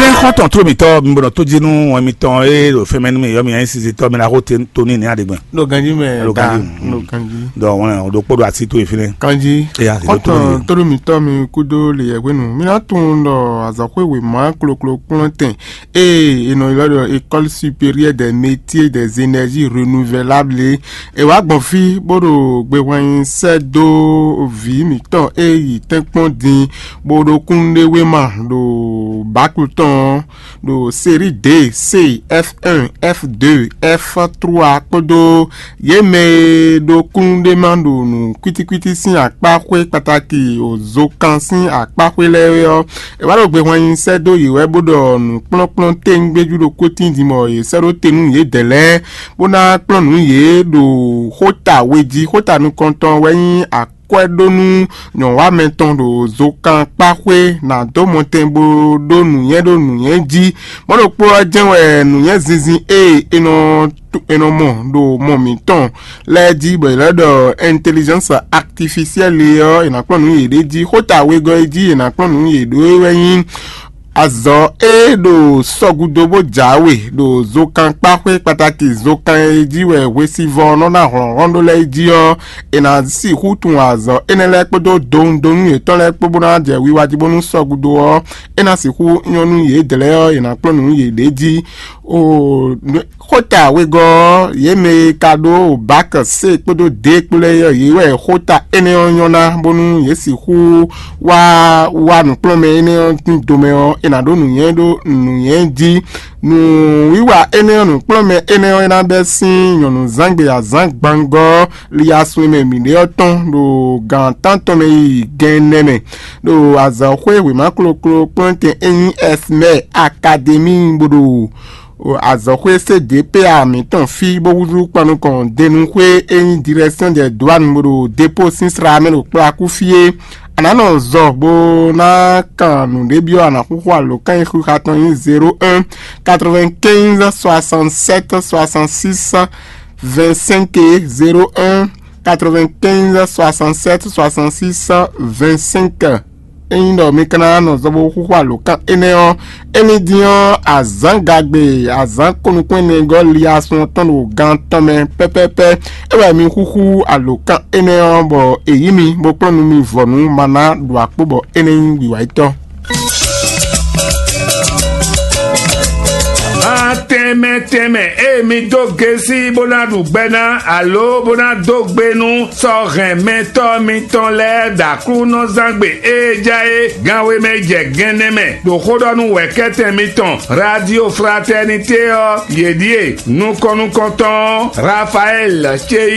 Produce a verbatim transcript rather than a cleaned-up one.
Xɔ́ntɔn tló mǐtɔn mi bɔnɔ tó jí nú wọn mitɔn e ɖo fɛn mɛ nú mi yɔ mi nyanya sisi tɔ mi na xó te tó ní ní aɖegbɛn. Ɖo ganji mɛ Ɖo ta ganji, mm. Ɖo ganji. Donc wọn o ɖo kpó ɖo asi tó yi fínɛ. Kanji. Eya ti ɖo tó kɔntɔn yi. Tóɖó mǐtɔn mi kúdó le yɛhwenu mi ná tunwun ɖɔ azɔxwé wěma kloklo kplɔ́n tɛn eye è nɔ ylɔ́ ɖɔ école supérieure des métiers des énergies renouvelables é wá gbɔn fí bó ɖo gbehwan nyi sɛ́ dó vǐ mǐtɔn e yi tɛ́nkpɔ́n din bó ɖo kúnnuɖewéma ɖo báklu tɔn ɔ́ ɖo série D, C, F un, F deux, F trois kpódó yě mɛ e ɖo kúnnuɖéma ɖo nǔ kwítíkwítí sín akpáxwé kpatáki ozokan sín akpáxwé lɛ́ɛ é ɔ́, è wá ɖo gbehwan nyi sɛ́ dó yě wɛ bó ɖɔ nǔkplɔ́nkplɔ́n téwúngbéjú ɖokpó tín din bɔ yě sɛ́ ɖó te nú yědɛɛ lɛ́ɛ bó ná kplɔ́n nǔ yě ɖo xóta we jí. Xóta nukɔntɔn wɛ nyí akwɛ́ ɖó nú nyɔ̌wamɛ tɔn ɖo zokankpáxwé ná dó mɔtɛn bó ɖó nǔnywɛ́ ɖó nǔnywɛ́ jí. Mɔ̌ ɖokpó ɔ́ jɛ́n wɛ nǔnywɛ́ zinzin e è nɔ è nɔ mɔ ɖo mɔ mǐtɔn lɛ́ɛ jí bɔ è lɛ́ ɖɔ intelligence artificielle ɔ́, è nǎ kplɔ́n nǔ yěɖée jí. Xóta wegɔ́ e jí è nǎ kplɔ́n nǔ yě ɖó é wɛ nyí azɔ̌ e ɖo sɔgúdo bó jǎwe ɖo zokankpáxwé kpatáki zokan e jí wɛ hwesivɔ́ nɔ ná hlɔ̌nhlɔ́n ɖó lɛ́ɛ jí ɔ́, è nǎ sixú tunwun azɔ̌ énɛ́ lɛ́ɛ kpódó dowundonu yětɔn lɛ́ɛ kpó bó ná jɛ wiwa jí bónú sɔgúdo ɔ́, é ná sixú nyɔ́ nú yědɛɛ lɛ́ɛ ɔ́, è nǎ kplɔ́n nǔ yěɖée jí. O xóta wegɔ́ ɔ́, yě mɛ e ka ɖó bak C kpódó D kpó lɛ́ɛ ɔ́, yě wɛ xóta énɛ́ ɔ́ nyɔ́ ná bónú yě sixú wá wá nǔkplɔ́nmɛ énɛ́ ɔ́ sín domɛ ɔ́, è nǎ ɖó nǔnywɛ́ ɖó nǔnywɛ́ jí. Nǔwiwa énɛ́ ɔ́, nǔkplɔ́nmɛ énɛ́ ɔ́, é ná bɛ́ sín nyɔ̌nuzángbé azǎn gbangɔ́ li asun e mɛ mǐ ɖe ɔ́ tɔn ɖo gan tántɔn mɛ yi gɛnnɛ mɛ ɖo azɔ̌xwé wěma kloklo kplɔ́ntɛn e nyí Esmɛ Akademi bó ɖo azɔ̌xwé C D P A mǐtɔn fí bó húzú kpan nukɔn denúxwé e nyí Direction des Douanes bó ɖo dépôt sín sra mɛ ɖo kplakú fí é. A nǎ nɔ zɔ bó ná kan nǔɖébyɔ́ a nǎ xúxú alǒkan e xixa tɔn nyí zéro un quatre-vingt-quinze soixante-sept soixante-six vingt-cinq é, zéro un quatre-vingt-quinze soixante-sept soixante-six vingt-cinq. Ényí ɖɔ mi ka ná nɔ zɔ bó xúxú alǒkan énɛ́ ɔ́, é ní dín ɔ́, azǎngagbe azǎn kɔnukún énɛ́ gɔ́ li asun ɔ́ tɔn ɖo gan tɔn mɛ pɛ́pɛ́pɛ́. É wɛ mi xúxú alǒkan énɛ́ ɔ́, bɔ è yǐ mi bó kplɔ́n nú mi vɔ̌nu maná ɖo akpó bɔ énɛ́ nyí wiwa yětɔn. Tɛnmɛ tɛnmɛ, ée mi dó gesi bó ná ɖu gbɛ ná alo bó ná dó gbe nú sɔ́ hɛn mɛtɔ́ mitɔn lɛ́ɛ ɖo Aklúnɔzángbe e ja é ganwe mɛ jɛ gɛnnɛ mɛ ɖo xó ɖɔ nú wɛ̌kɛ́tɛn mitɔn Radio Fraternité ɔ́, yě ɖíe: nukɔn nukɔntɔn Rafael ce